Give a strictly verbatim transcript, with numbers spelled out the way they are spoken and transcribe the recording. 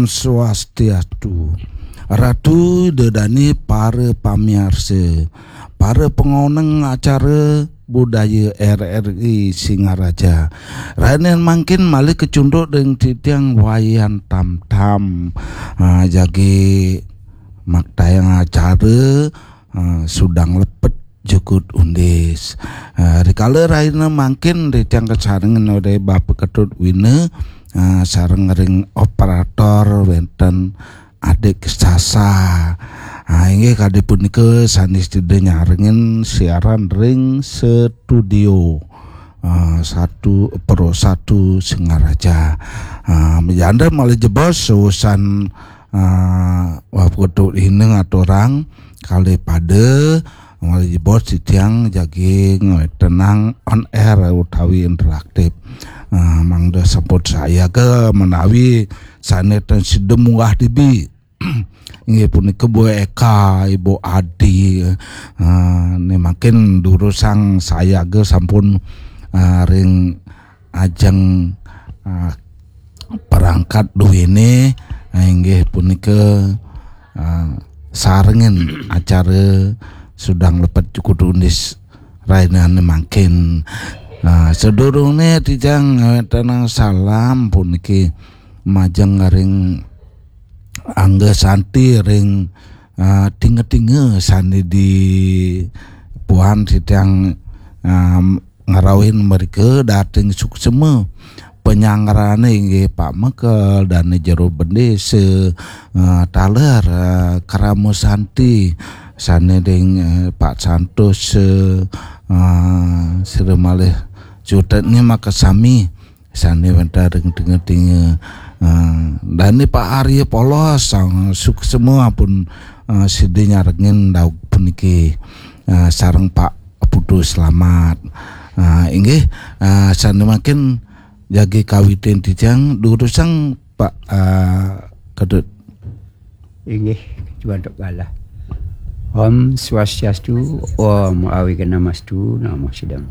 Swastiastu. Ratu dedani para pamiarsa, para pengoneng acara budaya R R I Singaraja. Rainin mangkin malih kacunduk ring titiang Wayan Tam Tam. Ah, jagi maktayang acara, ah, Sudang Lepet Jukut Undis. Ah, rikala raina mangkin titiang kasarengin olih Bapak Ketut Wina, ah, sareng ring operator wenten Adik Sasa. Ah, inggih kadi punika sané sida nyarengin siaran ring studio, ah, satu Pro Satu Singaraja. Ah, majanda malih jebos usan, ah, Bapak Ketut Wina ngaturang kalih pada malih jebos titiang jagi ngwetenang on air utawi interaktif. Ah, mangda sampun sayaga menawi sané ten sida munggah dibi. Inggih punika Bu Eka, Ibu Adi. Ah, né mangkin durusang sayaga sampun, ah, ring ajeng, ah, perangkat duéné, ah, inggih punika, ah, sarengin acara Sudang Lepet Jukut Undis rainané mangkin. Ah, sadurungé titiang ngwetenang salam puniki majeng ring Angga Santi ring, ah, tinga-tinga sané di puan titiang, ah, ngrauhin mrika dating suksma. Panyangrané inggih Pak Mekel, Dané Jero Bendésa, eh, taler, eh, Krama Santi, sané ring, eh, Pak Santos, eh, eh, sira malih cutetnya makasami, sané wénten ring tinga-tinga, eh, dané Pak Arya Polos, sang suksma ampun, eh, sida nyarengin daweg puniki, eh, sareng Pak Putu Slamet. Ah, inggih, ah, sané mangkin jagi kawitin titiang durusang Pak, ah, Ketut. Inggih, cuantuk galah. Om Swastiastu, Om Awighnamastu, Namo Siddham.